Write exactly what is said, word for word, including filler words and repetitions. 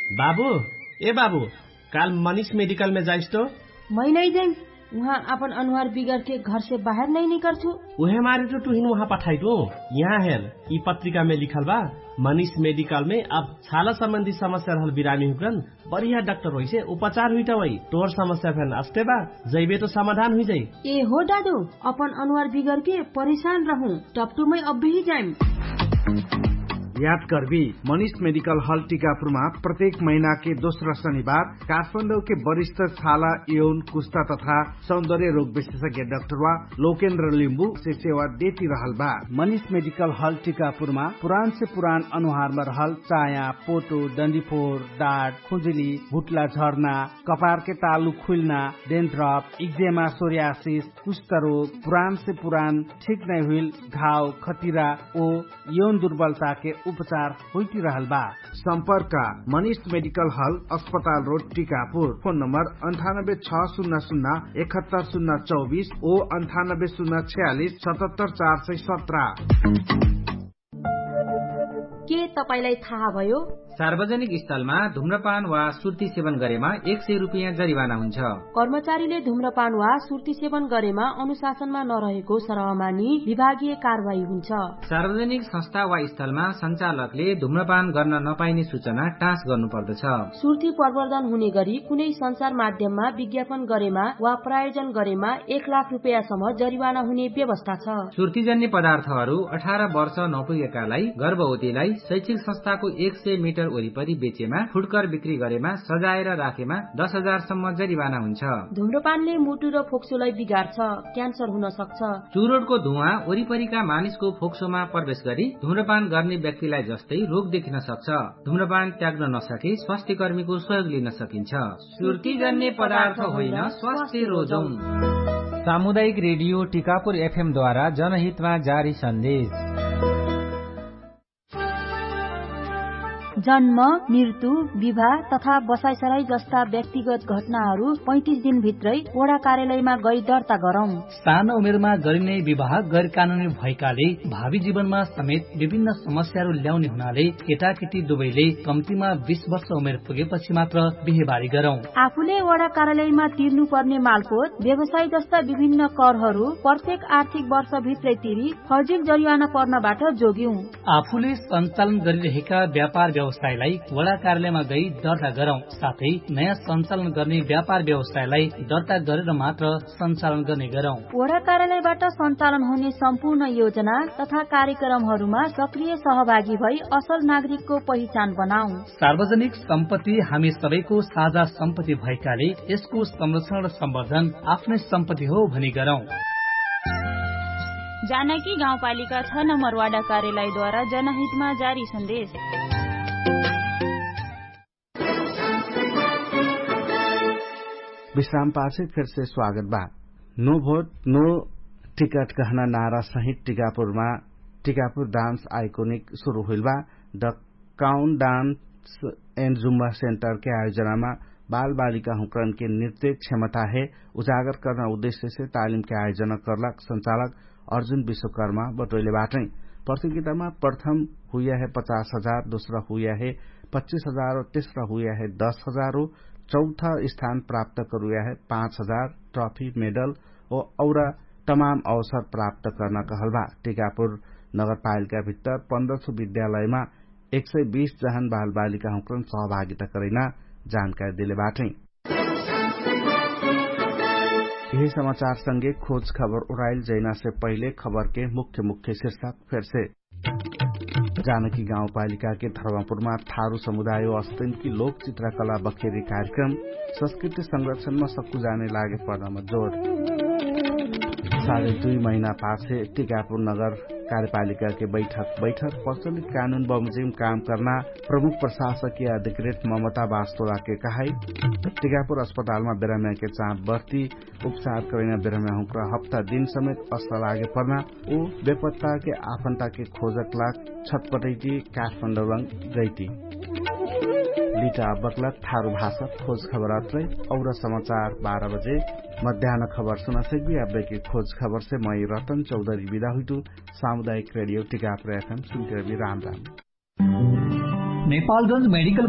बाबु, ए बाबु, काल मनिष मेडिकलमे जाइस तो? मै नै जाइम। उहाँ अपन अनुहार बिगरके घरसे बाहेर नै निकर्छु। उहे मारे तो टुहिन उहाँ पठाइटु। यहाँ हेर, यि पत्रिकामे लिखल बा, मनिष मेडिकलमे अब छाला सम्बन्धी समस्या रहल बिरामी हुकरन बढिया डाक्टर होइसे उपचार हुइटा वै। तोर समस्या फेन अस्ते बा, जैबे तो समाधान हुइजाइ। ए हो दादु, अपन अनुहार बिगरके परेशान रहु, टपटुमै अब्बेही जाइम। याद कर्बी, मनिष मेडिकल हल टिकापुरमा प्रत्येक महिनाके दोस्रा शनिबार काठमाडौके वरिष्ठ छाला, यौन, कुस्ता तथा सौन्दर्य रोग विशेषज्ञ डाक्टरवा लोकेन्द्र लिम्बु से सेवा देति रहल बा। मनिष मेडिकल हल टिकापुरमा पुरानसे पुरान अनुहारमा रहल चाया, पोटो, डन्डीफोर, डाट, खुजुली, भुट्ला झर्ना, कपारके तालु खुइल्ना, डेन्ट्रप, इक्जेमा, सोर्यासिस, कुष्ठरोग, पुरानसे पुरान ठिक नै हुइल घाव, खटिरा ओ यौन दुर्बलताके उपचार होइतिरहल बा। सम्पर्क, मनिष मेडिकल हल, अस्पताल रोड, टिकापुर। फोन नम्बर अन्ठानब्बे छ सुन्ना सुन्ना एकहत्तर सुन्ना चौबिस ओ अन्ठानब्बे सुन्ना छयालिस सतहत्तर चार सय सत्र। के तपाईंलाई थाहा भयो? सार्वजनिक स्थलमा धुम्रपान वा सुर्ती सेवन गरेमा एक सय रुपियाँ जरिवाना हुन्छ। कर्मचारीले धुम्रपान वा सुर्ती सेवन गरेमा अनुशासनमा नरहेको सरहमानी विभागीय कारवाही हुन्छ। सार्वजनिक संस्था वा स्थलमा सञ्चालकले धुम्रपान गर्न नपाइने सूचना टाँस गर्नुपर्दछ। सुर्ती प्रवर्धन हुने गरी कुनै सञ्चार माध्यममा विज्ञापन गरेमा वा प्रायोजन गरेमा एक लाख रुपियाँसम्म जरिवाना हुने व्यवस्था छ। सुर्तीजन्य पदार्थहरू अठार वर्ष नपुगेकालाई, गर्भवतीलाई, शैक्षिक संस्थाको एक सय मिटर वरिपरि बेचेमा, फुटकर बिक्री गरेमा, सजाएर राखेमा दस हजारसम्म जरिवाना हुन्छ। धुम्रपानले मुटु र फोक्सोलाई बिगार्छ, क्यान्सर हुन सक्छ। चुरोटको धुवा वरिपरिका मानिसको फोक्सोमा प्रवेश गरी धुम्रपान गर्ने व्यक्तिलाई जस्तै रोग देखिन सक्छ। धुम्रपान त्याग्न नसके स्वास्थ्यकर्मीको सहयोग लिन सकिन्छ। सुर्तीजन्य पदार्थ होइन, स्वास्थ्य रोजौं। सामुदायिक रेडियो टिकापुर एफएमद्वारा जनहितमा जारी सन्देश। जन्म, मृत्यु, विवाह तथा बसाइसराई जस्ता व्यक्तिगत घटनाहरू पैँतिस दिनभित्रै वडा कार्यालयमा गई दर्ता गरौँ। सानो उमेरमा गरिने विवाह गैरकानुनी भएकाले भावी जीवनमा समेत विभिन्न समस्याहरू ल्याउने हुनाले केटाकेटी दुवैले कम्तीमा बीस वर्ष उमेर पुगेपछि मात्र बिहेबारी गरौँ। आफूले वडा कार्यालयमा तिर्नुपर्ने मालपोत, व्यवसाय जस्ता विभिन्न करहरू प्रत्येक आर्थिक वर्षभित्रै तिरी फर्जिल जरिवाना पर्नबाट जोग्यौँ। आफूले सञ्चालन गरिरहेका व्यापार व्यवसायलाई वडा कार्यालयमा गई दर्ता गरौँ, साथै नयाँ सञ्चालन गर्ने व्यापार व्यवसायलाई दर्ता गरेर मात्र सञ्चालन गर्ने गरौँ। वडा कार्यालयबाट सञ्चालन हुने सम्पूर्ण योजना तथा कार्यक्रमहरूमा सक्रिय सहभागी भई असल नागरिकको पहिचान बनाऊ। सार्वजनिक सम्पत्ति हामी सबैको साझा सम्पत्ति भएकाले यसको संरक्षण र सम्वर्धन आफ्नै सम्पत्ति हो भनी गरौँ। जानकी गाउँपालिका छ नम्बर वाडा कार्यालयद्वारा जनहितमा जारी सन्देश। विश्राम पाछे फेरसे स्वागत बा। नो भोट नो टिकट कहना नारा सहित टिकापुरमा टिकापुर डान्स आइकोनिक सुरु हुइल बा। The count dance and Zumba सेन्टरके आयोजनामा बालबालिका हुँकरनके नृत्य क्षमताहे उजागर कर्ना उद्देश्यसे तालिमके आयोजना कर्लाक सञ्चालक अर्जुन विश्वकर्मा बटोइले बाटै। प्रतियोगितामा प्रथम हुइयाहे पचास हजार, दोस्रा हुइयाहे पच्चिस हजार, तेस्रा हुइयाहे दस हजार हो, चौथा स्थान प्राप्त करुयाहे पाँच हजार ट्रफी मेडल ओ औरा तमाम अवसर प्राप्त कर्ना कहल बा। टिकापुर नगरपालिका भित्तर पन्ध्र सौ विद्यालयमा एक सय बीस जहन बालबालिका हुँकरन सहभागिता करैना जानकारी देले बाटै। यही समाचार संगे खोज खबर उराइल जैना से पहिले खबर के मुख्य मुख्य शीर्षक फेर से। जानकी गाउँपालिका के धर्मपुरमा थारु समुदाय अस्तिन की लोक चित्रकला बखेरी कार्यक्रम संस्कृति संरक्षणमा सक्कु जाने लागे पर्नमा जोड। साढे दुई महिना पाछे टिकापुर नगर कार्यपालिका के बैठक बैठक प्रचलित कानुन बमजिम काम कर्ना प्रमुख प्रशासकीय अधिकृत ममता बास्तोला के कहाई। टिकापुर अस्पतालमा बेराम्या के चाप बर्ती उपचार करैना बेराम्या हुँक्रा हप्ता दिन समेत अस्त लागे पर्ना उ बेपत्ता के आफन्ता के खोजक लाग छटपटैती काठमाडौलङ गैती। लिटा बक्ला थारु भाषा खोज खबर अत्रै। और समाचार बाह्र बजे मध्यान खबर सुना सकबी। अब्बे के खोज खबर से मै रतन चौधरी विदा हुइतु। सामुदायिक रेडियो टिकापुर एफएम सुनते रबी। राम राम। नेपालगंज मेडिकल